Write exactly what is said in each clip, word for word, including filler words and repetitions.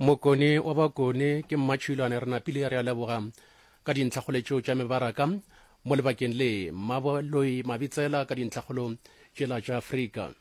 Mokone wa Bakone ke Mmatšhilwane re napile re a leboga ka dintlhakgolo tšeo tša mebaraka mo lebakeng le Mmaboloi Mabitsela ka dintlhakgolo tšela tša Afrika.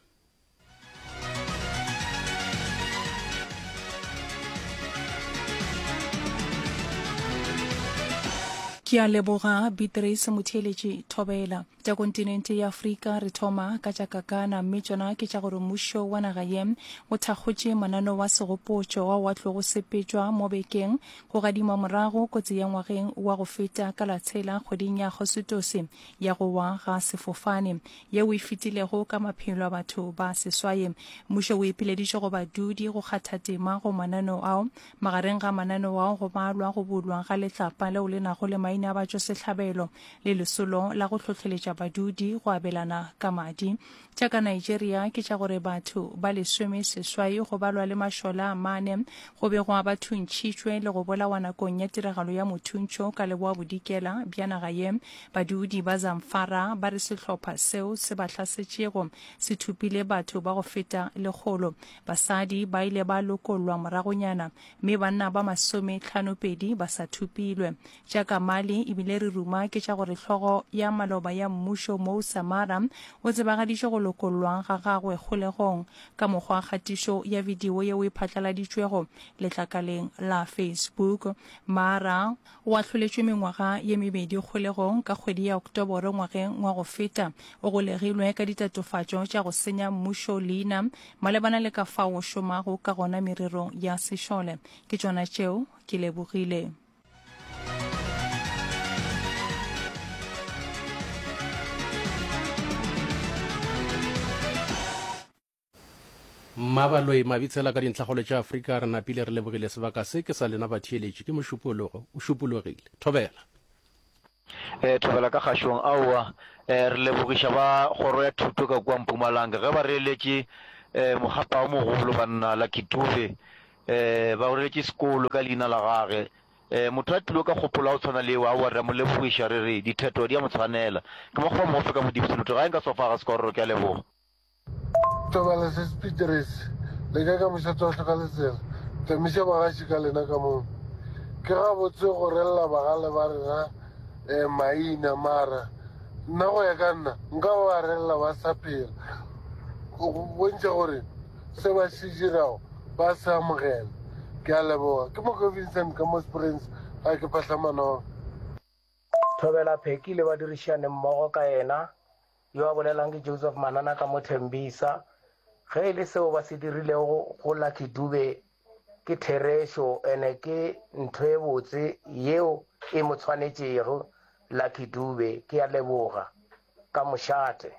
Ke a leboga Beatrice Motheeletši Thobela. Tša kontinente ya Afrika re thoma ka tša Kakana mme tšona ke tša gore mmušo wa naga ye o thakgotše mananeo wa segopotšo ao a tlogo sepetšwa mo bekeng go gadima morago kotsi ya ngwageng wa go feta ka la tshela kgweding ya Agostose ya go wa ga sefofane yeo e fetilego ka maphelo a batho ba seswai. Mmušo o ipileditše go badudi go kgatha tema go mananeo ao. Magareng ga mananeo ao go balwa go bulwa ga letlapa leo le nago le maina a batšwasehlabelo le lesolo la go hlohleletša badudi go abelana ka madi. Tša ka Nigeria ke tša gore batho ba lesome seswai go balwa le mašole a mane go begwa ba thuntšhitšwe le go bolawa nakong ya tiragalo ya mothuntšho ka leboa bodikela bja naga ye. Badudi ba Zamfara ba re sehlopha seo se ba hlasetšego se thopile batho ba go feta lekgolo. Basadi ba ile ba lokollwa moragonyana mme banna ba masometlhanopedi ba sa thopilwe. Tša ka Mali ebile re ruma ke tša gore hlogo ya maloba ya mmušo Moussa Mara o tsebagaditše go lokollwa ga gagwe kgolegong ka mokgwa wa kgatišo ya bidio yeo e phatlaladitšwego letlakaleng la Facebook. Mara o ahloletšwe mengwaga ye mebedi kgolegong ka kgwedi ya Oktoboro ngwageng wa go feta. O golegilwe ka ditatofatšo tša go senya mmušo leina malebana le ka fao o šomago ka gona mererong ya sešole. Ke tšona tšeo, ke lebogile. Mmabaloi Mabitsela ka dintlhakgolo tša Afrika re napile re lebogile sebaka se ke sa lena batheeletši ke mošupologo o šupologile. Thobela. E, thobela ka kgašong. Aowa, e, re lebogiša ba kgoro ya thuto ka kua Mpumalanga ge ba reeletše e, mokgapa o mogolo banna Lucky Dube. E, ba reeletše sekolo ka leina la gage. E, motho a tlilo ka kgopolo ya go tshwana le yeo, aowa re a mo lebogiša re re ditheto di a mo tshwanela. Ke mokgwa mofe ka Modimo Seloto gae nka sofa ga sekororo ke a leboga. Tobela se Speed Race le ka ka mošate wa hloka letsela. Tamiša bagaši ka lena ka moo. Ke gabotse go rella bagale ba rena eh, maina mara nna go ya ka nna nka ba ba rella ba sa phela go bontšha gore se ba se dirago ba se amogela. Ke a leboga. Ke Moko Vincent ka mo Springs ga ke phahla manong. Thobela Pheki le badirišani mmogo ka yena Yo a bolelang ke Joseph Manana ka mo Thembisa. Ge e le seo ba se dirilego go Lucky Dube ke therešo ene ke ntho e botse yeo e mo tshwanetšego Lucky Dube. Ke a leboga. Ka mošate.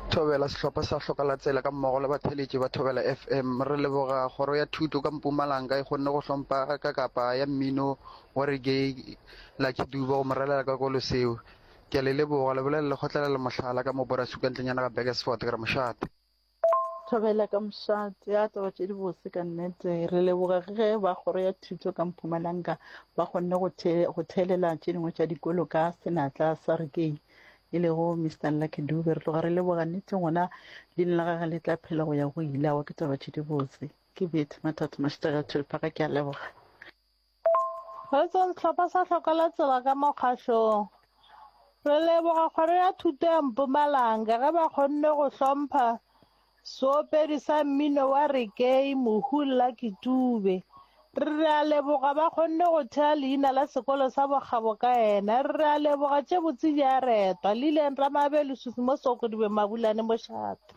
Thobela sehlopha sa Hlokalatsela ka mmogo le batheeletši ba Thobela F M. Re leboga Kgoro ya Thuto ka Mpumalanga e kgonne go hlompha ka kapa ya mmino wa reggae Lucky Dube go mo relela ka kolo seo. Ke a le leboga, le bolela le kgotlelela mohlala ka mo Borasuka ntlenyana ga Burgersfort, ke re mošate. Thobela ka mošate, a taba tše di bose ka nnete. Re leboga ge ba kgoro ya thuto ka Mpumalanga ba kgonne go the, go theelela tše dingwe tša dikolo ka senatla sa reggae e lego Mister Lucky Dube. Re tloga re leboga nnete gona leina la gage le tla phela go ya go ile. Aowa ke taba tše di bose. Ke Betty Mathatho Mashitega Thulphaga, ke a leboga. Re tse sehlopha sa Hloka la Tsela ka mokgahlong. Re leboga kgoro ya thuto ya Mpumalanga ge ba kgonne go hlompha seopedi sa mmino wa reggae Mohu Lucky Dube. Re re a leboga ba kgonne go thea leina la sekolo sa bokgabo ka yena. Re re a leboga tše botse di a retwa. Lillian Ramabe Lesufi mo Sokodibe Mabulane Mošate.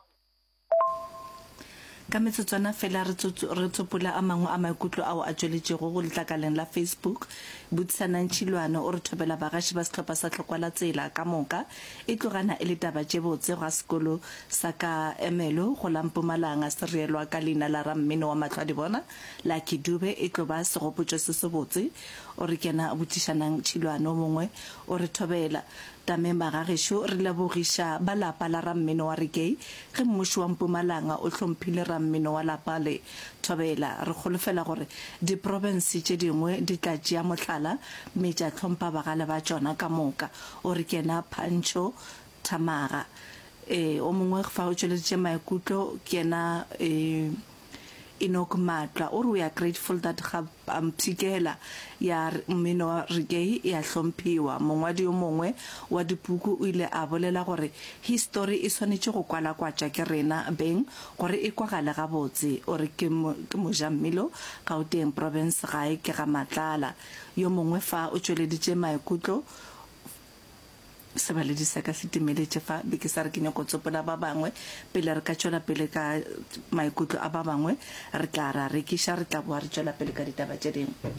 Ka metsotswana fela re re tsopola a mangwe a maikutlo ao a tšweletšego go letlakaleng la Facebook. Butisanang Tšhilwane o re thobela bagaši ba sehlopha sa Tlokwa la Tsela ka moka. E tlogana e le taba tše botse gwa sekolo sa ka Ermelo go la Mpumalanga se reelwa ka leina la rammino wa mahlwadibona Lucky Dube e tlo ba segopotšo se sebotse. O re kena Botšišanang Tšhilwane o mongwe o re thobela Tame magagešo re lebogiša ba lapa la rammino wa reggae ge mmušo wa Mpumalanga o hlomphile rammino wa lapa le Thobela. Re kgolofela gore diprofense tše dingwe di tla tšea mohlala mme tša hlompha bagale ba tšona ka moka. O re kena Pancho Thamaga. Ee, o mongwe fa o tšweleditše maikutlo ke yena ee. Enoch Matla o re we are grateful that ga mpshikela ya mmino wa reggae e a hlomphiwa. Mongwadi yo mongwe wa dipuku o ile a bolela gore histori e swanetše go kwalakwatšwa ke rena beng gore e kwagale gabotse. O re ke ke mojammilo Gauteng Province gae ke ga Matlala. Yo mongwe fa o tšweleditše maikutlo Sebaledi sa ka se timeletše fa, be ke sa re ke nyako tsopola ba bangwe. Pele re ka tšwela pele ka maikutlo a ba bangwe, re tla ra rekiša, re tla boa re tšwela pele ka ditaba tše dingwe.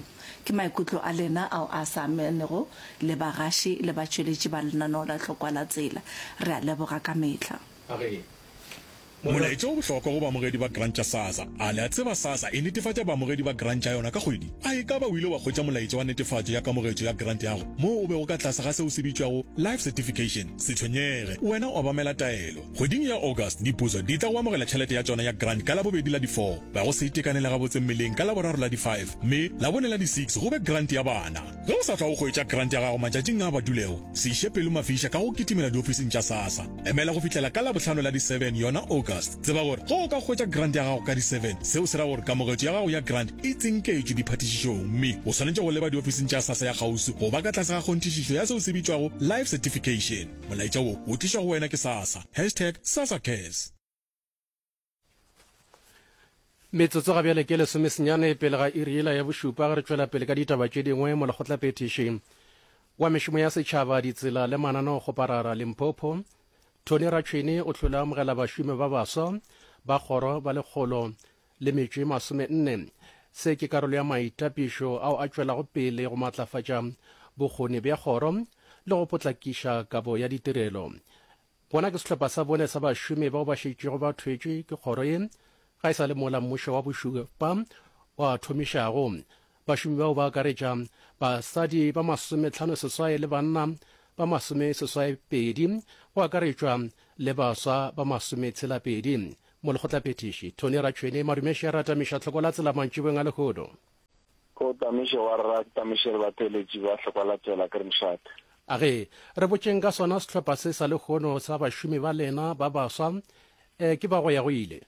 Ke maikutlo a lena ao a sa amanego le bagaši le batšweletši ba lenaneo la Tlhokwa la Tsela. Re a leboga ka mehla. A re, Molaetša o bohlokwa go baamogedi ba grant tša SASSA. A le a tseba SASSA e netefatša baamogedi ba grant tša yona ka kgwedi? A e ka ba o ile wa hwetša molaetša wa netefatšo ya kamogetšo ya grant ya gago moo o bego ka tlase ga seo se bitšwago Life Certification? Se tshwenyege, wena obamela taelo. Kgweding ya August, diputso di tla go amogela tšhelete ya tšona ya grant ka Labobedi la di four, ba go se itekanele gabotse mmeleng ka Laboraro la di five, mme Labone la di six go be grant ya bana. Ge o sa hlwa o hwetša grant ya gago matšatšing a badulego, se iše pelo mafiša ka go kitimela diofising tša SASSA. Emela go fihlela ka Labohlano la di seven yona August. Tseba gore ge o ka hwetša grant ya gago ka di seven, seo se ra gore kamogetšo ya gago ya grant e tsinketšwe diphatišišong mme o swanetše go leba diofising tša SASSA ya kgauswi go ba ka tlase ga kgonthišišo ya seo se bitšwago Life Certification. Molaetša wo o tlišwa go wena ke SASSA. Hashtag SASSACares. Metsotso ga bjale ke lesomesenyane pele ga iri yela ya bošupa ge re tšwela pele ka ditaba tše dingwe. Molekgotlaphethiši wa mešomo ya setšhaba, ditsela le mananeokgoparara Limpopo, Tony Ratšhwene o hlole a amogela bašomi ba baswa ba kgoro ba lekgolo le metšo e masome nne. Se ke karolo ya maitapišo ao a tšwelago pele go matlafatša bokgoni bja kgoro le go potlakiša kabo ya ditirelo. Bona ke sehlopha sa bone sa bašomi bao ba šetšego ba thwetšwe ke kgoro ye ga e sa le mola mmušo wa bošupa wa thomišago. Bašomi bao ba akaretša basadi ba masometlhano seswai le banna ba masome seswai pedi, go akaretšwa le baswa ba masome tshela pedi. Molekgotlaphethiši Tony Ratšhwene Madumeše a ratamiša tlhoko la tsela mantšiboeng a lehono. Ko tamiše wa rra, ke tamiše le batheeletši ba hlokwa la tsela ke re mošate. A ge re botšeng ka sona sehlopha se sa lehono sa bašomi ba lena ba baswa, e, ke ba go ya go ile.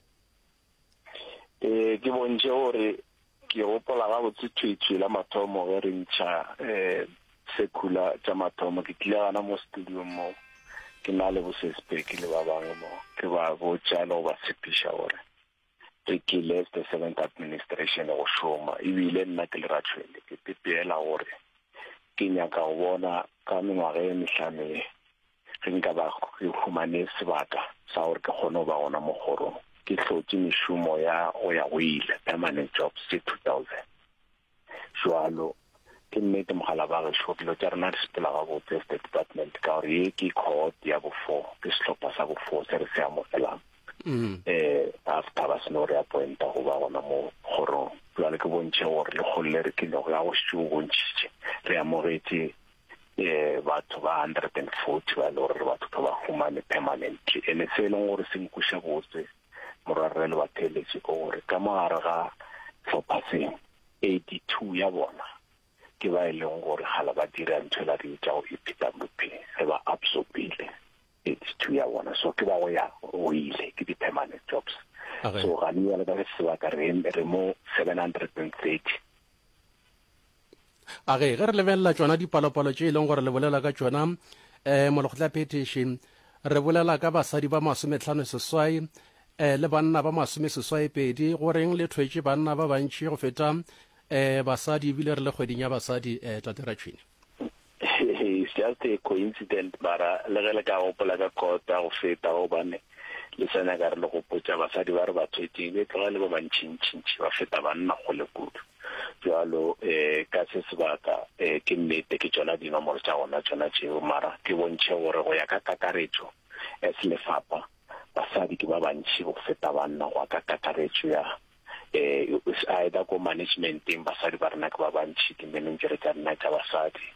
E, ke bontšhe gore ke gopola gabotse thwi-thwi la mathomo ge re ntšha e, circular tša mathomo. Ke tlile gana mo studio mo ke na le bosespeki le ba bangwe mo, ke ba botša le go ba tshepiša gore re tlile as the seventh administration go šoma. Ebile nna ke le Ratšhwene ke pepeela gore ke nyaka go bona ka mengwaga e mehlano ye ge nka ba ke humane sebaka sa gore ke kgone go ba gona mo kgorong, ke hlotše mešomo ya go ya go ile, permanent jobs tše two thousand. Jwalo ke nnete mogala ba gešo, dilo tša rena di sepela gabotse as the department, ka gore ye ke cohort ya bo four, ke sehlopha sa bo four se re se amogelang eh after ba seno re appointa go ba gona mo kgorong. Jwale ke bontšhe gore lekgolo le re tlilego ya go šetše o bontšhitše re amogetše eh batho ba hundred and forty ba e le gore re batho ba humane permanently. Ene se e leng gore se nkweša botse morwarre le batheeletši ke gore ka mogare ga hlopha se eighty two ya bona ke ba e leng gore gala ba dira ntho e la re bitšago E P W P, re ba absorbile eighty two ya bona, so ke ba go ya go ile, ke di-permanent jobs. Okay. So ga ne jwale ka se sebaka re, re mo seven hundred and thirty. A ge, ge re lebelela tšona dipalopalo tše e leng gore le bolela ka tšona, eh, molekgotlaphethiši, re bolela ka basadi ba masometlhano seswai, eh, le banna ba masome seswai pedi. Go reng le thwetše banna ba bantši go feta, eh, basadi, ebile re le kgweding ya basadi, eh, Tate Ratšhwene? It's just a coincidence, mara le ge le ka gopola ka kota go feta, gobane le sa nyaka re le gopotša basadi ba re ba thwetšeng be tloga le ba bantšintšintši ba feta banna kgole kudu. Jwalo, eh, ka se sebaka, eh, ke nnete ke tšona dinomoro tša gona tšona tšeo, mara ke bontšhe gore go ya ka kakaretšo as lefapha basadi ke ba bantši go feta banna go ya ka kakaretšo ya, eh, either ko managementeng basadi ba rena ke ba bantši, di-manager tša rena tša basadi,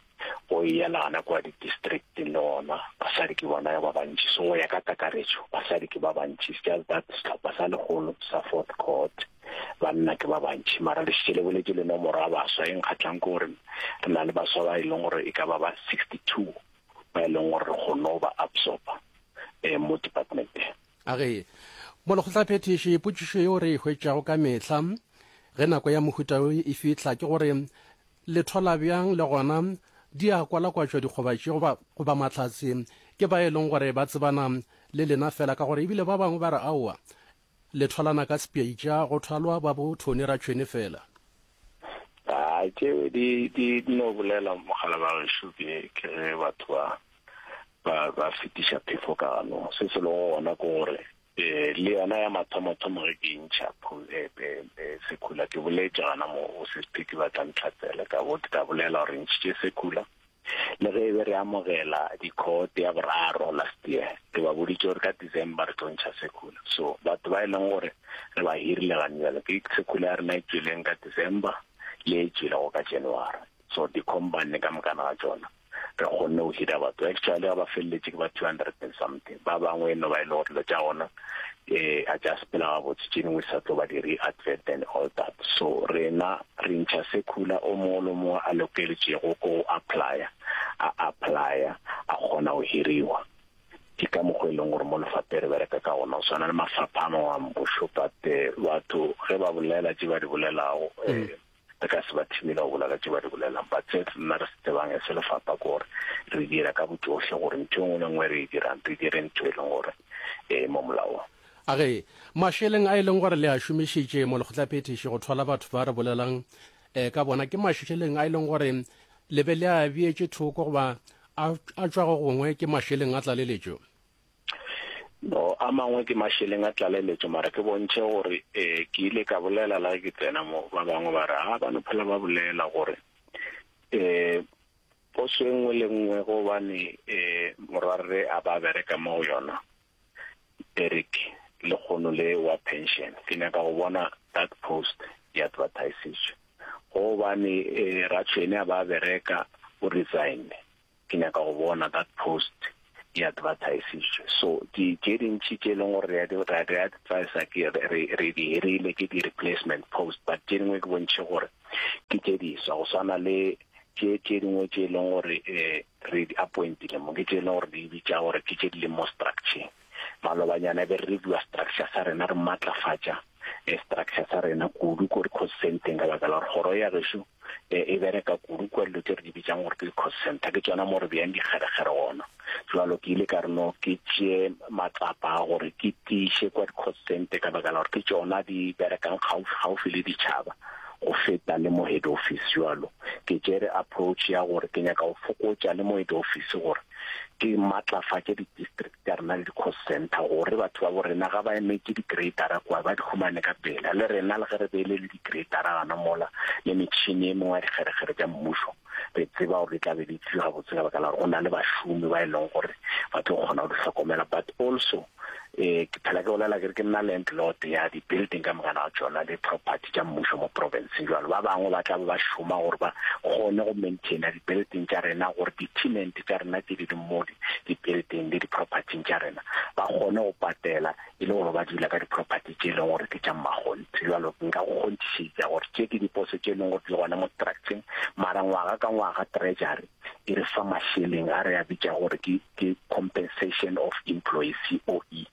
go ya le gana kwa di-districteng le gona basadi ke bona ba bantši. So go ya ka kakaretšo basadi ke ba bantši. It's just that sehlopha sa lekgolo sa fourth cohort banna ke ba bantši, mara le šetše le boletše le nomoro ya baswa e nkgatlang ke gore re na le baswa ba e leng gore e ka ba ba sixty two ba e leng gore re kgonne go ba absorba, eh, mo departmenteng. A ge Molekgotlaphethiši, potšišo yeo re e hwetšago ka mehla ge nako ya mohuta wo e fihla ke gore le thwala bjang le gona di a kwalakwatšwa dikgoba tše goba, goba mahlatse ke ba e leng gore ba tsebana le lena fela ka gore ebile ba bangwe ba re aowa le thwalana ka sepitša go thwalwa ba bo Tony Ratšhwene fela. Hai, tšeo di, di, di no bolela mogala ba gešo ke, ke ge batho ba, ba, ba fetiša phefo ka ganong. Se se lego gona ke gore eh, le yona ya mathomothomo ge ke e ntšha eh, eh, eh, sekhula ke boletše gana mo go Sesphiki ba tla ntlhatsela ka bo ka bolela gore ntšhitše sekhula le ge e be re amogela di-court ya boraro last year ke ba boditše gore ka December re tlo ntšha sekhula so batho ba e leng gore re ba hirile gane bjale ke sekhula ya rena e tšweleng ka December le e tšwelego ka January so di-company ka mokana ga tšona re kgonne go hira batho actually ga ba feleletše ke ba two hundred and something ba bangwe e no ba e le gore dilo tša gona um a tša sepela gabotse tše dingwe sa tlo ba di re-advert and all that so rena re ntšha sekhula o mongwe le mongwe a lokeletšego ko go applya a applya a kgona go hiriwa ke ka mokgwa e leng gore mo lefaphe re bereka ka gona go swana le mafapha a mangwe a mmušo but eh, batho ge ba bolela tše ba di bolelago um re ka se ba thibele go bolela tše ba di bolelang but se nna re se tsebang e se lefapha ke gore re dira ka botsohle gore ntho e nngwe le nngwe re e dirang re dire ntho e leng gore e mo molaong A ge mašeleng a e leng gore le a šomišitše mo lekgotlaphethiši go thwala batho ba re bolelang um ka bona ke mašeleng a e leng gore le be le a beetše thoko goba a a tšwa go gongwe ke mašeleng a tlaleletšo? No, a mangwe ke mašeleng a tlaleletšo mara ke bontšhe gore um ke ile ka bolela la ge ke tsena mo ba bangwe ba re a ba no phela ba bolela gore um poso e nngwe le nngwe gobane um morwarre a ba bereka mo go yona Eric le kgono le wa pension ke nyaka go bona that post e advertisitswe gobane um Ratšhwene a ba bereka o resign ke nyaka go bona that post e advertisitswe so di tše dintši tše e leng gore re a di advertisa ke re re di hirile ke di replacement post but tše dingwe ke bontšhe gore ke tše diswa go swana le tše tše dingwe tše e leng gore um re di appointile mo ke tše e leng gore di bitša gore ke tše di leng mo structure malobanyana be re reviewa structure sa rena re matlafatša eh, structure sa rena kudu ko di-cost centeng ka baka la gore kgoro ya gešo eh, e bereka kudu kwa dilo tse re di bitsang gore ke di-cost center ke tsona mo re beyang dikgerekgere gona jalo ke ile ka re no ke tšee matsapa a gore ke tiiše kwa di-cost center ka baka la gore ke tsona di berekang gaufi le ditšhaba go feta le mo head office jalo ke tšere approach ya gore ke nyaka go fokotša le mo head office gore ke matlafatše di-district tša rena le di-cost center gore batho ba bo rena ga ba emetše di-gradera kwa ba di humane ka pela le rena le ge re beile le di-gradera gana mola le metšhini e mengwe ya dikgerekgere tša mmušo re tseba gore di tla be di tliwa gabotse ka baka la gore go na le bašomi ba e leng gore ba tlo kgona go di hlokomela but also eh ke phela ke bolela ke re ke nna landlord ya di-building ka mokana ga tšona le property tša mmušo mo provinceng jalo ba bangwe ba tla ba ba šoma gore ba kgone go maintaina di-building tša rena gore di-tenant tša rena tše di leng mo di-building le di-propertyng tša rena ba kgone go patela e le gore ba dula ka di-property tše e leng gore ke tša mmakgonthe jalo nka go kgonthišetša gore tše ke diposo tše e leng gore di gona mo structuring mara ngwaga ka ngwaga treasury e re fa mašeleng a re a bitša gore ke ke compensation of employees C O E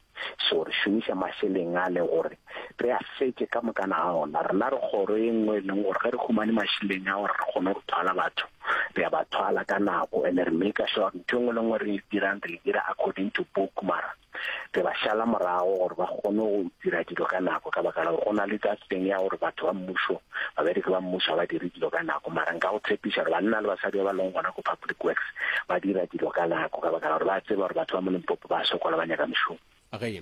so re šomiša mašeleng a le gore re a fetše ka mokana ga ona rena re kgoro e nngwe e leng gore ge re humane mašeleng a gore re kgone go thwala batho re a ba thwala ka nako and re make sure ntho e nngwe le nngwe re e dirang re e dira according to book mara re ba šala morago gore ba kgone go dira dilo ka nako ka baka la gore go na le that thing ya gore batho ba mmušo babereki ba mmušo ga ba dire dilo ka nako mara nka go tshepiša gore banna le basadi ba ba leng gona ko public works ba dira dilo ka nako ka baka la gore ba tseba gore batho ba mo Limpopo ba sokola ba nyaka mešomo. Ge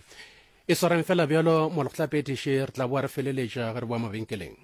e swareng fela bjalo molekgotlaphethiši re tla boa re feleletša ge re boa mabenkeleng.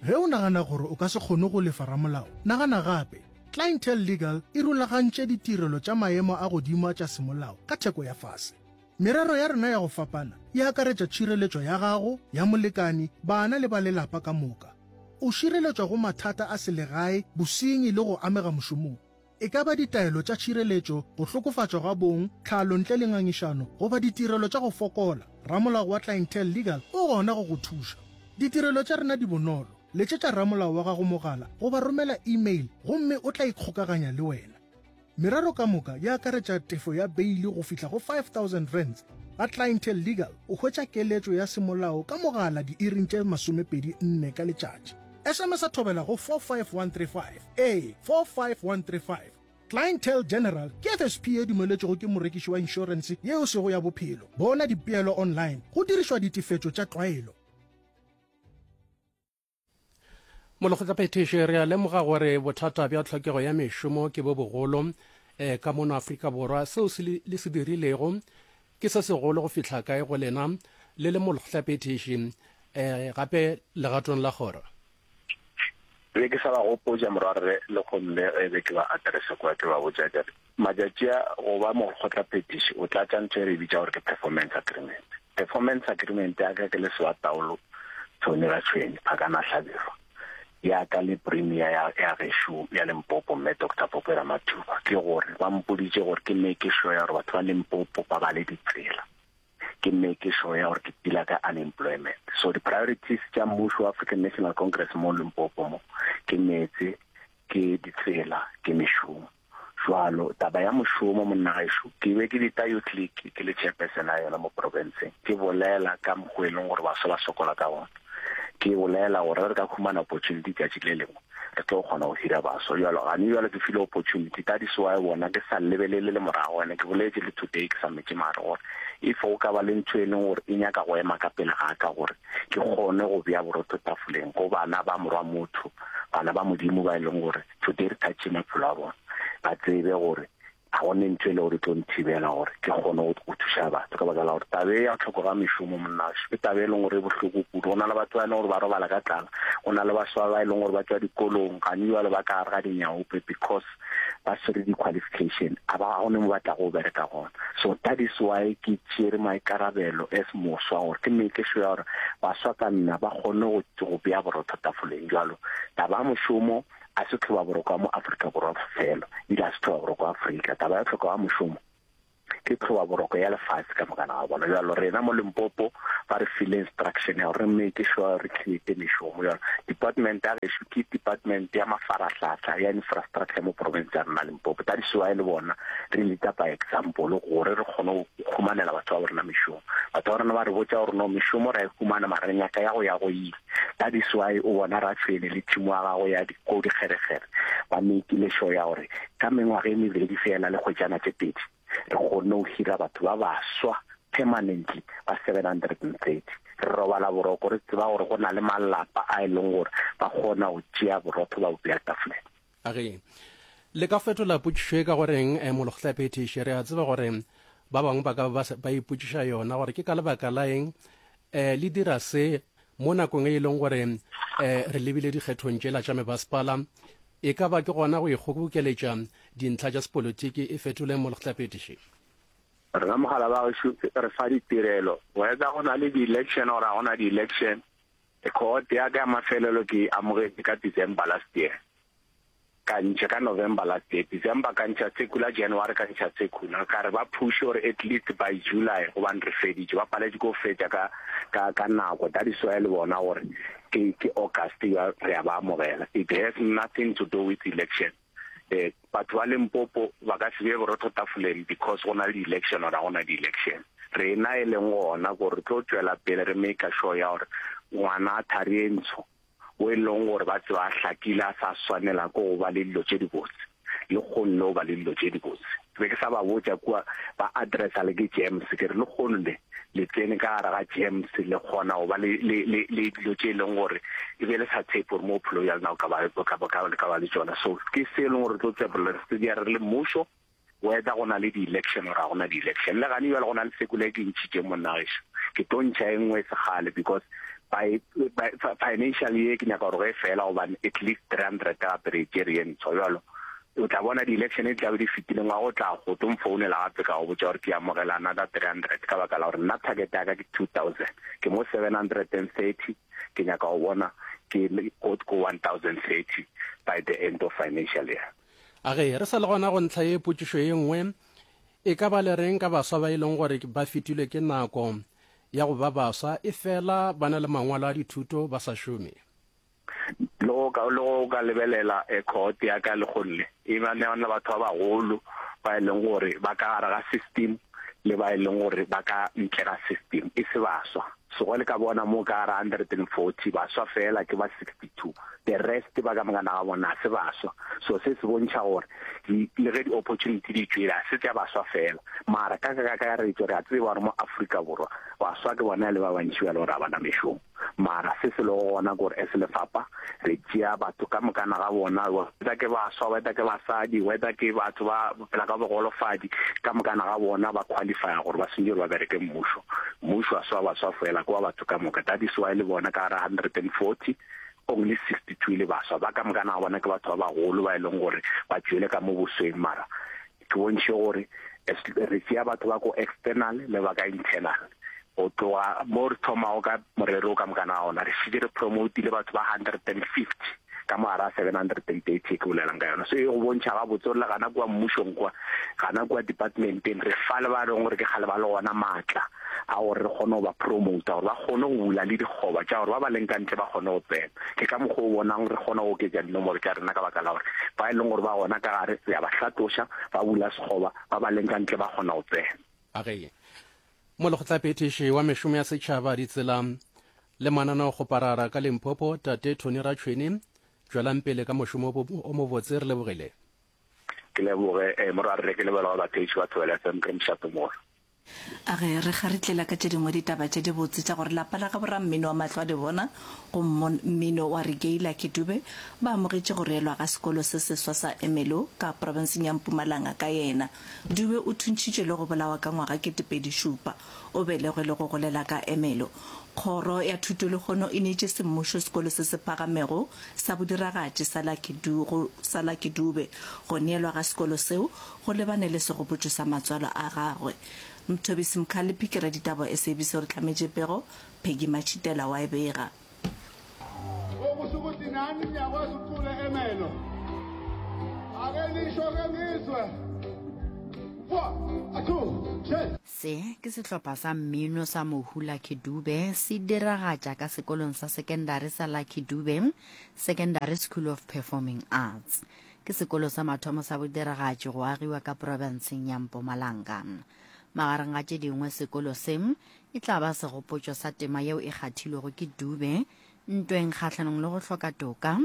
Ge o nagana gore o ka se kgone go lefa ramolao, nagana gape. Clientele Legal e rulagantše ditirelo tša maemo a godimo tša semolao ka theko ya fase. Merero ya rena ya go fapana e akaretša tšhireletšo ya gago, ya molekani, bana le ba lelapa ka moka. O šireletšwa go mathata a selegae, bosenyi le go amega mošomong. E ka ba ditaelo tša tšhireletšo, go hlokofatšwa ga bong, tlhalo ntle le ngangišano, goba ditirelo tša go fokola, ramolao wa Clientele Legal o gona go go thuša. Ditirelo tša rena di bonolo. Letšetša ramolao wa gago mogala goba romela email gomme o tla ikgokaganya le wena. Merero ka moka e akaretša tefo ya beile go fihla go five thousand rands. Ga Clientele Legal o hwetša keletšo ya semolao ka mogala diiring tše masomepedi nne ka letšatši. S M S-a Thobela go four five one three five, ee, four five one three five. Clientele General ke F S P ye dumeletšwego ke morekiši wa inšorense ye e sego ya bophelo. Bona dipeelo online go dirišwa ditefetšo tša tlwaelo. Molekgotlaphethiši, re a lemoga gore bothata bja tlhokego ya mešomo ke bo bogolo eh, ka mono Afrika Borwa. Seo se le se dirilego ke se segolo go fihla kae go lena le le molekgotlaphethiši eh, gape legatong la kgoro? Be ke sa ba gopotša morwarre le gomme ge be ke ba addressa kua ke ba botša ke re matšatši a go ba molekgotlaphethiši o tlatša ntho e re e bitša gore ke performance agreement. Performance agreement ya ka ke le Sewataolo Tony Ratshwenye Phakana Hlabirwa ya ka le Premier ya ya gešo ya Limpopo Mme Doctor Pope Ramathuba ke gore ba mpoditše gore ke make sure ya gore batho ba Limpopo ba ba le ditsela, ke make sure ya gore ke deala ka unemployment. So di-priorities tša mmušo wa African National Congress mo Limpopo mo ke meetse, ke ditsela, ke mešomo. Jwalo taba ya mošomo monna gešo, ke be ke dita Youth League ke le chairperson ya yona mo provinceng, ke bolela ka mokgwa e leng gore baswa ba sokola ka gona, ke bolela gore re ka humana opportunity tšatši le lengwe re tlo kgona go hira baswa. Jalo gane jalo ke file opportunity, that is why bona ke sa lebelele le morago. Ene ke boletse le today ke sa metše mare gore if go ka ba le ntho e leng gore e nyaka go ema ka pele ga ka gore ke kgone go bea borotho tafoleng go bana ba morwa motho, bana ba Modimo ba e leng gore today re touche maphelo a bona, ba tsebe gore ga go ne ntho e le gore e tlo nthibela gore ke kgone go thuša batho. Ka baka la gore tabe ya tlhoko ga mešomo monnašo ke tabe e leng gore e bohloko kudu. Go na le batho ba e leng gore ba robala ka tlala, go na le baswa ba e leng gore ba tswa dikolong gane jwale ba ka gare ga dinyaope because ba swere di-qualification, a ba ga gone mo ba tla go bereka gona. So that is why ke tšere maikarabelo as moswa gore ke make sure ya gore baswa ka nna ba kgone go bea borotho tafoleng. Jwalo taba ya mošomo a se tlhoba boroko mo Afrika Borwa fela, ebile a se tlhoba boroko Afrika. Taba ya tlhoko ya mošomo ke tlhoba boroko ya lefatshe ka mokana ga bona. Jalo rena mo Limpopo ba re file instruction ya gore re make sure re create mešomo. Jalo department ya gešo ke department ya mafarahlahla ya infrastructure mo province ya rena Limpopo. That is why le bona re lead by example gore re kgone go humanela batho ba rena mešomo. Batho ba rena ba re botša gore no, mešomo re a e humana, mara re nyaka ya go ya go ile. That is why o bona Ratshwene le team wa gago ya ko dikgerekgere ba makeile sure ya gore ka mengwaga e mebedi fela le kgwetšana tše pedi re kgonne go hira batho ba baswa permanently ba seven hundred and thirty. Re robala boroko re tseba gore go na le malapa a e leng gore ba kgona go tšea borotho ba bo bea tafoleng. Age le ka fetola potšišo e ka goreng eh, molekgotlaphethiši, re a tseba gore ba bangwe ba ka ba ba ipotšiša yona gore ke ka lebaka la eng um le dira se mo nakong e leng gore um re lebile dikgethong tšela tša mebasepala? E ka ba ke gona go ikgobokeletša dintlha tša sepolotiki? E fetoleng, molekgotlaphethiši. Rena mogala ba gešo re fa ditirelo whether go na le di-election or ga go na di-election. Cohort ya ka ya mafelelo ke amogetše ka December last year, ka ntšha ka November last year, December ka ntšha circular, January ka ntšha circular, ka re ba push gore at least by July gobane re feditše. Ba paletše ko fetša ka ka ka nako. That is why le bona gore ke ke August ya re a ba amogela. It has nothing to do with election. eh batho ba Limpopo ba ka se be borotho tafoleng because go na le di-election or ga go na di-election. Rena e leng gona gore re tlo tšwela pele re make sure ya gore ngwana a thari e ntsho o e leng gore ba tseba a hlakile a sa swanela ko go ba le dilo tše dibotse le kgonne o ba le dilo tše dibotse. Ke be ke sa ba botša kua ba addressa le ke Gems, ke re le kgono le le tsene ka gare ga Gems, le kgona go ba le le le le dilo tše e leng gore e be le sa tshepe gore mo bophelo bja lena o ka ba o ka ba ka ba le tšona. So ke se e leng gore re tlo tswelela re se di re le mmušo whether go na le di-election or ga go na di-election. Le gane jale go na le circular e ke ntšhitšeng monna gešo, ke tlo ntšha e nngwe segale because by, by financial year ke nyaka gore ge e fela gobane at least three hundred gape re e tšere ye ntshwa. Jalo o tla bona di-election di tlabe di fetile, ngwaga o tla go tlo mfounela gape ka go botša gore ke amogela another three hundred ka baka la gore nna target ya ka ke two thousand, ke mo seven hundred and thirty, ke nyaka go bona ke go go one thousand thirty by the end of financial year. Age re sa le gona go ntlha ye, potšišo ye nngwe e ka ba le reng ka baswa ba e leng gore ba fetilwe ke nako ya go ba baswa, e fela ba na le mangwalo a dithuto ba sa šome? Le go ka le go ka lebelela e cohort ya ka le gonne e ba ne le batho ba bagolo ba e leng gore ba ka gare ga system le ba e leng gore ba ka ntle ga system, e se baswa. So ge le ka bona mo ka gare hundred and forty, baswa feela ke ba sixty two, the rest ba ka mokana ga bona ga se baswa. So se se bontšha gore le ge di-opportunity di tšwele, ga se tša baswa feela. Mara ka kakaretšo re a tseba gore mo Afrika Borwa baswa ke bona e le ba bantši ba e le gore ga ba na mešomo. Mara se se lego gona ke gore as lefapha re tšea batho ka mokana ga bona, whether ke baswa, whether ke basadi, whether ke batho ba phela ka bogolofadi, ka mokana ga bona ba qualifya gore ba swanetše gore ba bereke mmušo. Mmušo ga se wa baswa fela, ke wa batho ka moka. That is why le bona ka gare hundred and forty, only sixty two e le baswa. Ba ka mokana ga bona ke batho ba bagolo ba e leng gore ba tšwele ka mo bosweng. Mara ke bontšhe gore re tšea batho ba ko external le ba ka internal. Go tloga mo re thomago ka morero wo ka mokana ga ona, re šetše re promotile batho ba hundred and fifty ka mo gare ga seven hundred and thirty ye ke bolelang ka yona. So e go bontšha gabotse gore le gana kua mmušong kua, gana kua departmenteng, re fa le ba e leng gore ke kgale ba le gona maatla a gore re kgone go ba promota gore ba kgone go bula le dikgoba tša gore ba ba leng ka ntle ba kgone go tsena. Ke ka mokgwa o bonang re kgona go oketša dinomoro tša rena ka baka la gore ba e leng gore ba gona ka gare re a ba hlatloša, ba bula sekgoba, ba ba leng ka ntle ba kgona go tsena. A ge Molekgotlaphethiši wa mešomo ya setšhaba, ditsela le mananeokgoparara ka Limpopo, Tate Tony Ratšhweni, tšwelang pele ka mošomo o mobotse, re lebogile. Ke leboge morwarre, ke leboge batheetši ba Thobela F M, ke re mošate mogolo. A ge re kgaritlela ka tše dingwe ditaba tše dibotse tša gore lapa la gabo rammino wa mahlo a di bona go mmino wa reggae Lucky Dube ba amogetše go reelwa ga sekolo se seswa sa Ermelo ka profenseng ya Mpumalanga ka yena. Dube o thuntšhitšwe le go bolawa ka ngwaga kete pedi šupa. O belegwe le go golela ka Ermelo. Kgoro ya Thuto lehono e neetše semmušo sekolo se se phagamego sa bodiragatši sa Lucky go sa Lucky Dube. Go neelwa ga sekolo seo go lebane le segopotšo sa matswalo a gagwe. Mthobisi Mkhaliphi ke raditaba wa S A B C o re hlametše pego, Peggy Matšhitela wa e bega. Okusho ukuthi nani niyakwazi ukucula emelo. Ake nisho ke ngizwe. One, two, three. Se ke sehlopha sa mmino sa mohu Lucky Dube se diragatša ka sekolong sa sekendari sa Lucky Dube Secondary School of Performing Arts. Ke sekolo sa mathomo sa bodiragatši go agiwa ka profenseng ya Mpumalanga. Magareng ga tše dingwe sekolo se e tla ba segopotšo sa tema yeo e kgathilwego ke Dube ntweng kgahlanong le go hloka toka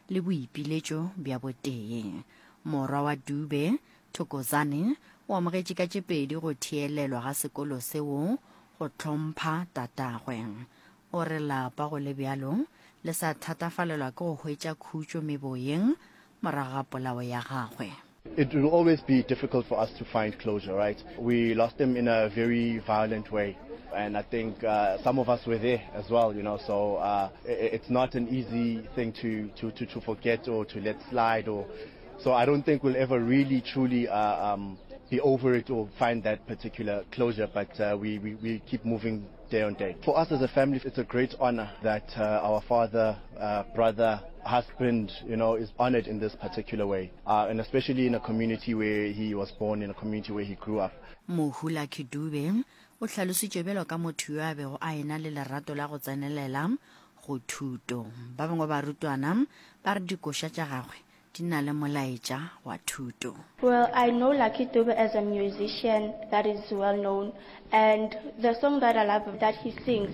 le boipiletšo bja botee. Morwa wa Dube, Thokozane, o amogetše ka tše pedi go theelelwa ga sekolo seo go hlompha tatagwe. O re lapa go le bjalo le sa thatafalelwa ke go hwetša khutšo meboyeng morago ga polao ya gagwe. It will always be difficult for us to find closure, right? We lost him in a very violent way, and I think, uh, some of us were there as well, you know, so, uh, it's not an easy thing to, to, to, to forget or to let slide. Or, so I don't think we'll ever really truly, uh, um, be over it or find that particular closure, but, uh, we, we, we keep moving day on day. For us as a family, it's a great honor that, uh, our father, uh, brother, husband, you know, is honored in this particular way, uh, and especially in a community where he was born, in a community where he grew up. Mohu Lucky Dube o hlalositšwe bjalo ka motho yo a bego a e-na le lerato la go tsenelela go thuto. Ba bangwe ba barutwana ba re dikoša tša gagwe di na le molaetša wa thuto. Well, I know Lucky Dube as a musician that is well known, and the song that I love that he sings,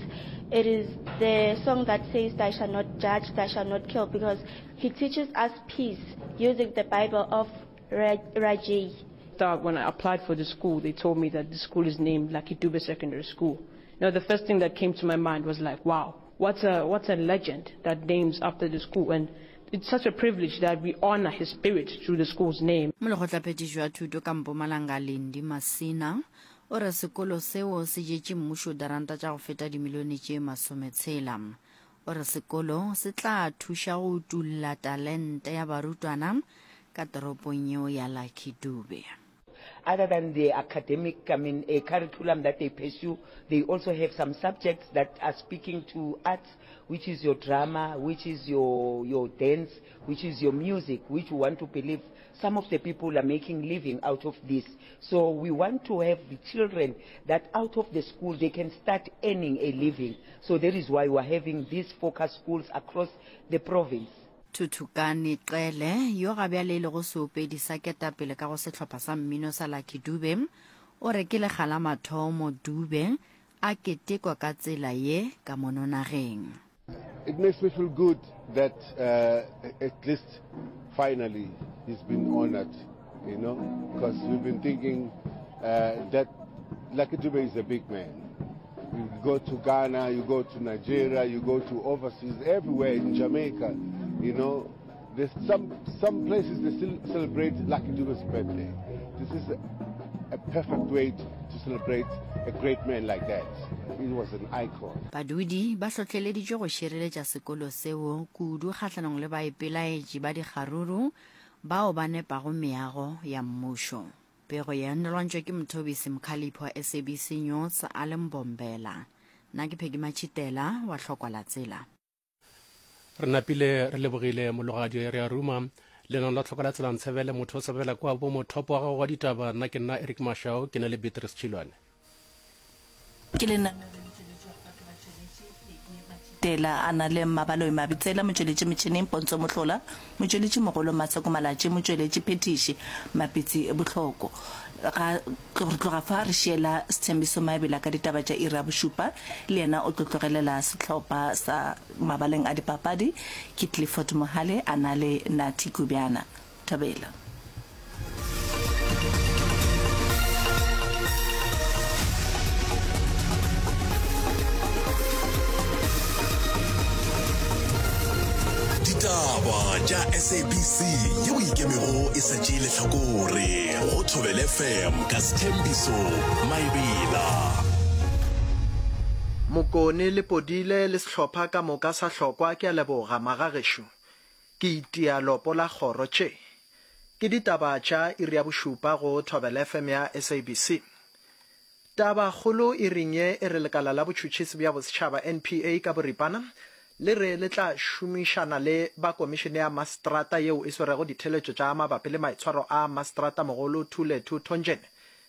it is the song that says, Thou shalt not judge, thou shalt not kill, because he teaches us peace using the Bible of Rajay. Start when I applied for the school, they told me that the school is named Lucky Dube Secondary School. Now, the first thing that came to my mind was like, wow, what's a, what's a legend that names after the school? And it's such a privilege that we honor his spirit through the school's name. Molekgotlaphethiši wa thuto ka Mpumalanga Lindi Masina o re sekolo seo se jetše mmušo diranta tša go feta dimilione tše masometshela. O re sekolo se tla thuša go utulla talente ya barutwana ka toropong yeo ya Lucky Dube. Other than the academic, I mean, a curriculum that they pursue, they also have some subjects that are speaking to arts, which is your drama, which is your, your dance, which is your music, which we want to believe some of the people are making living out of this. So we want to have the children that out of the school they can start earning a living. So that is why we are having these focus schools across the province. Thuthukani Cele, yo ga bjale e lego seopedi sa ketapele ka go sehlopha sa mmino sa Lucky Dube, O re ke lekga la mathomo Dube a ketekwa ka tsela ye ka mono nageng. It makes me feel good that uh, at least finally he's been honored, you know, because we've been thinking uh, that Lucky Dube is a big man. You go to Ghana, you go to Nigeria, you go to overseas, everywhere in Jamaica, you know, there's some, some places they still celebrate Lucky Dube's birthday. This is a, a perfect way to, to celebrate a great man like that. He was an icon. Badudi ba hlohleleditšwe go šireletša sekolo seo kudu kgahlanong le baipelaetši ba dikgaruru bao ba nepago meago ya mmušo. Pego ye e lwantšwe ke Mthobisi Mkhaliphi wa S A B C News a le Mbombela. Nna ke Peggy Matšhitela wa Hlokwa la Tsela. Re napile re lebogile mologadi re a ruma lenano la tlhoko la tsela ntshebele motho o sebela kwa bo mothopo wa gago wa ditaba. Nna ke nna Eric Mashao ke na le Beatrice Chilwane. Ke lenaneo le le tšweletšwago ke batšweletši Peggy Matšhitela a na le Mmabaloi Mabitsela, motšweletši metšhineng Pontso Mohlola, motšweletši mogolo Maseko Malatši, motšweletši phethiši Mapitsi Bohloko. Ga re tloga fa re šiela Sethembiso Maebela ka ditaba tša iri ya bošupa, le yena o tlo tlogelela sehlopha sa mabaleng a dipapadi ke Clifford Mohale a na le Nathi Kubjana. Thobela. Ditaba tša S A B C yeo ikemego e sa tšee lehlakore go Thobela F M ka Sethembiso Maebela. Mokone le Podile le sehlopha ka moka sa Hlokwa ke a leboga magagešo. Ke itia lopo la kgoro tše. Ke ditaba tša iri ya bošupa go Thobela F M ya S A B C. Taba kgolo iring ye e re lekala la botšhotšhisi bja bosetšhaba N P A ka boripana le re le tla šomišana le ba komišene ya mastrata yeo e swerego ditheletšo tša mabapi le maitshwaro a mastrata mogolo Thulethu Thonjene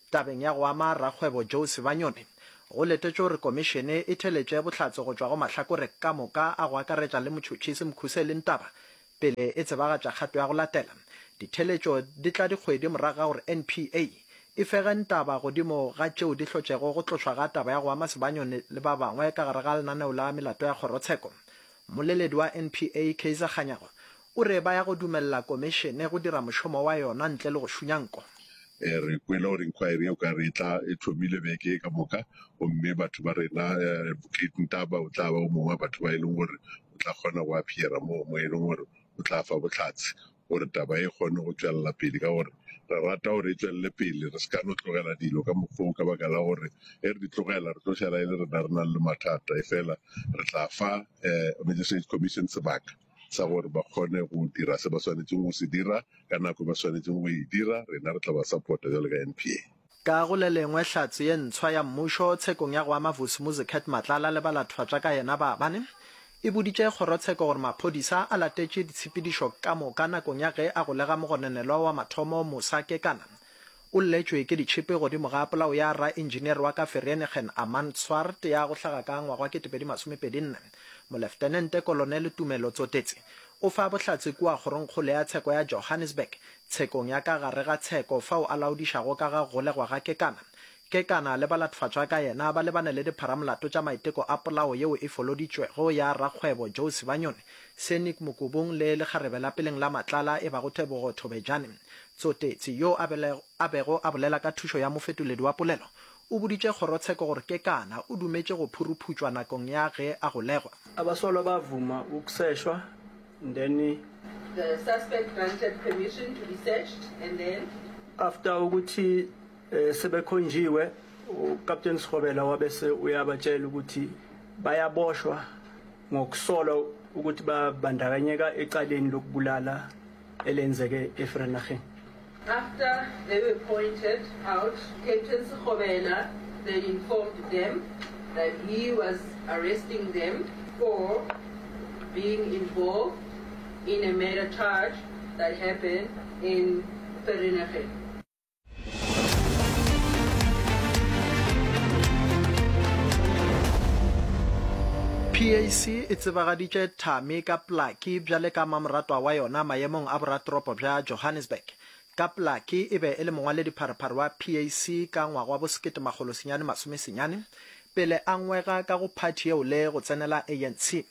tabeng ya go ama rakgwebo Joe Sibanyoni. Go letetšwe gore komišene e theletše bohlatse go tšwa go mahlakore ka moka a go akaretša le motšhotšhisi Mkhuseli Ntaba pele e tsebagatša kgato ya go latela. Ditheletšo di tla dikgwedi morago ga gore N P A e fege Ntaba godimo ga tšeo di hlotšego go tlošwa ga taba ya go ama Sibanyoni le ba bangwe ka gare ga lenaneo la melato ya kgorotsheko. Mmoleledi wa N P A Kaizer Kganyago o re ba ya go dumelela komišene go dira mošomo wa yona ntle le go šunya nko. Re kwele gore inquiry e o ka re e tla e thomile beke e ka moka, gomme batho ba rena Advocate Ntaba o tla ba o mongwe wa batho ba e leng gore o tla kgona go appeara moo mo e leng gore o tla fa bohlatse gore taba e kgone go tšwelela pele, ka gore re rata gore e tšwelele pele, re se ka no tlogela dilo ka mokgwa o, ka baka la gore e re di tlogela re tlo šala e le rena re nang le mathata. E fela re tla fa Magistrates Commission sebaka sa gore ba kgone go dira se ba swanetšeng go se dira ka nako ba swanetšeng go e dira, rena re tla ba support-a bjalo ka N P A. Ka go le lengwe, hlatse ye ntshwa ya mmušo tshekong ya go ama Vusimuzi Cat Matlala le balathofatša ka yena ba bane e boditše kgorotsheko gore maphodisa a latetše ditshepedišo ka moka nakong ya ge a golega mogononelwa wa mathomo Musa Kekana. O lletšwe ke ditšhipi godimo ga polao ya raengineer wa ka Vereeniging Armand Swart ya go hlaga ka ngwaga wa kete pedi masomepedi nne. Moleftenente Kolonele Tumelo Tsotetse o fa bohlatse kua kgorongkgolo ya tsheko ya Johannesburg tshekong ya ka gare ga tsheko fao a laodišago ka ga golegwa ga Kekana. Kekana le balathofatšwa ka yena ba lebane le dipharamolato tša maiteko a polao yeo e foloditšwego ya rakgwebo Joe Sibanyoni, Senik Mokubung le lekgarebe la peleng la Matlala e bago Tebogo Thobejane. Tsotetse, yo a bego a bolela ka thušo ya mofetoledi wa polelo, o boditše kgorotsheko gore Kekana o dumetše go phuruphutšwa nakong ya ge a golegwa. Abasolwa ba vuma ukuseshwa then The suspect granted permission to be searched and then after ukuthi sebekhonjiwe uCaptain Sikhobela wabese uyabatshela ukuthi bayaboshwa ngokusolwa ukuthi babandakanyeka ecaleni lokubulala elenzeke eVereeniging. After they were pointed out, Captain Sikhobela then informed them that he was arresting them for being involved in a murder charge that happened in Vereeniging. P A C e tsebagaditše Thami ka Plaki bjale ka mamoratwa wa yona maemong a boratoropo bja Johannesburg. Kaplacky e be e le mongwaledipharephare wa PAC ka ngwaga wa bo sekete makgolo senyane masome senyane pele a ngwega ka go phathi yeo le go tsenela ANC.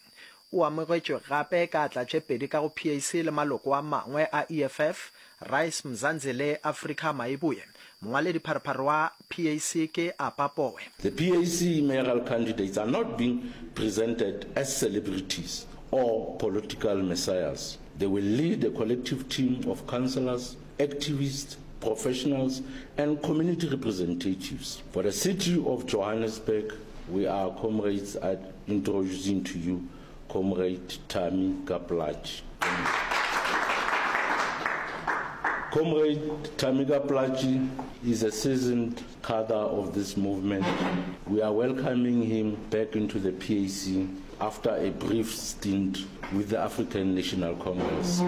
O amogetšwe gape ka atla tše pedi ka go PAC le maloko a mangwe a EFF, Rise Mzansi le Africa Mayibuye. Mongwaledipharephare wa PAC ke Apa Powe. The PAC mayoral candidates are not being presented as celebrities or political messiahs. They will lead a collective team of councillors, activists, professionals and community representatives. For the city of Johannesburg, we are comrades at introducing to you Comrade Thami Plaatje. Comrade Tamika Plaatje is a seasoned cadre of this movement. We are welcoming him back into the PAC after a brief stint with the African National Congress.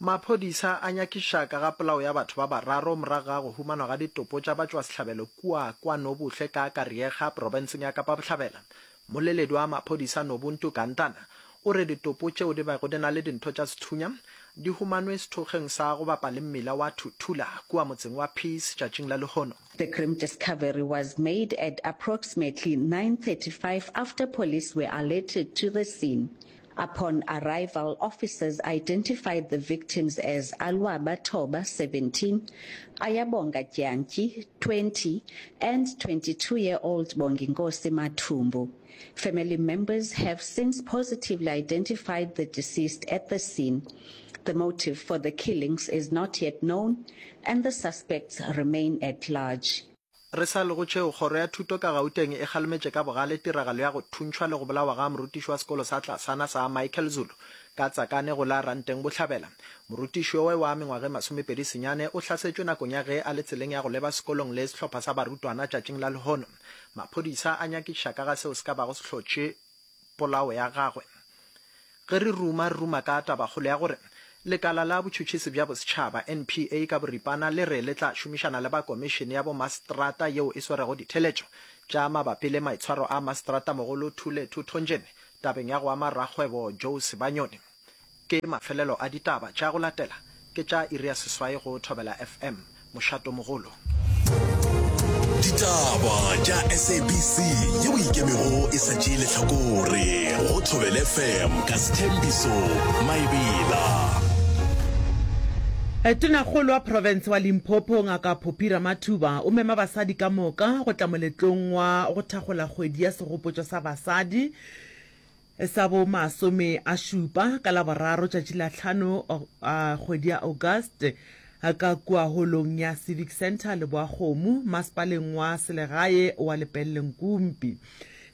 Maphodisa a nyakišiša ka ga polao ya batho ba bararo morago ga go humanwa ga ditopo tša batšwasehlabelo kua KwaNobuhle ka Kariega, profenseng ya Kapa Bohlabela. Mmoleledi wa maphodisa Nobuntu Gantana o re ditopo tšeo di bego di na le dintho tša sethunya di humanwe sethokgweng sa go bapa le mmila wa Thuthula kua motseng wa Peace tšatšing la lehono. The grim discovery was made at approximately nine thirty-five after police were alerted to the scene. Upon arrival, officers identified the victims as Alwaba Toba, seventeen, Ayabonga Dyantyi, twenty, and twenty-two-year-old Bonginkosi Mathumbu. Family members have since positively identified the deceased at the scene. The motive for the killings is not yet known and the suspects remain at large. Re sa le go tšeo, Kgoro ya Thuto ka Gauteng e kgalemetše ka bogale tiragalo ya go thuntšhwa le go bolawa ga morutiši wa sekolo sa tlasana sa Michael Zulu ka Tsakane go la Ranteng Bohlabela. Morutiši yowe wa mengwaga e masomepedi senyane o hlasetšwe nakong ya ge a le tseleng ya go leba sekolong le sehlopha sa barutwana tšatšing la lehono. Maphodisa a nyakišiša ka ga seo se ka bago se hlotše polao ya gagwe. Ge re ruma, re ruma ka tabakgolo ya gore Lekala la Botšhotšhisi bja Bosetšhaba, NPA, ka boripana le re le tla šomišana le ba Komišene ya Bomaseterata yeo e swerego ditheletšo tša mabapi le maitshwaro a Maseteratamogolo Thule Thuthonjeni tabeng ya go ama rakgwebo Joe Sibanyoni. Ke mafelelo a ditaba tša go latela ke tša iri ya seswai go Thobela FM. Mošatomogolo. Ditaba tša SABC yeo e ikemego e sa tšee lehlakore go Thobela FM ka Sthembiso Maebela. Tonakgolo wa profense wa Limpopo Ngaka Phophi Ramathuba o mema basadi ka moka go tla moletlong wa go thakgola kgwedi ya segopotšo sa basadi sa bo masome a šupa ka Laboraro tšatši la hlano kgwedi ya August ka kua holong ya Civic Centre Leboakgomo masepaleng wa selegae wa Lepelle-Nkumpi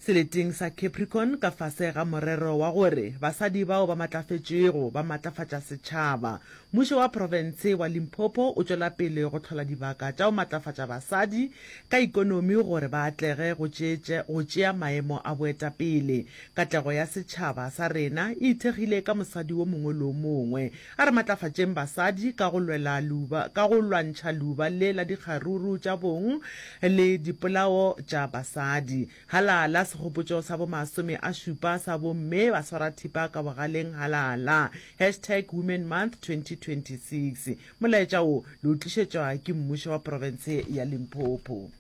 seleteng sa Capricorn ka fase ga morero wa gore basadi bao ba matlafetšego ba matlafatša setšhaba. Mmušo wa profense wa Limpopo o tšwela pele go hlola dibaka tša go matlafatša basadi ka ikonomi gore ba atlege go go tšea maemo a boetapele. Katlego ya setšhaba sa rena e ithekgile ka mosadi wo mongwe le wo mongwe. A re matlafatšeng basadi ka go lwela leuba ka go lwantšha leuba le la dikgaruru tša bong le dipolao tša basadi. Halala segopotšo sa bo masome a šupa sa bomme ba swara thipa ka bogaleng halala. Hashtag Women Month twenty twenty six. Molaetša wo le o tlišetšwa ke mmušo wa profense ya Limpopo.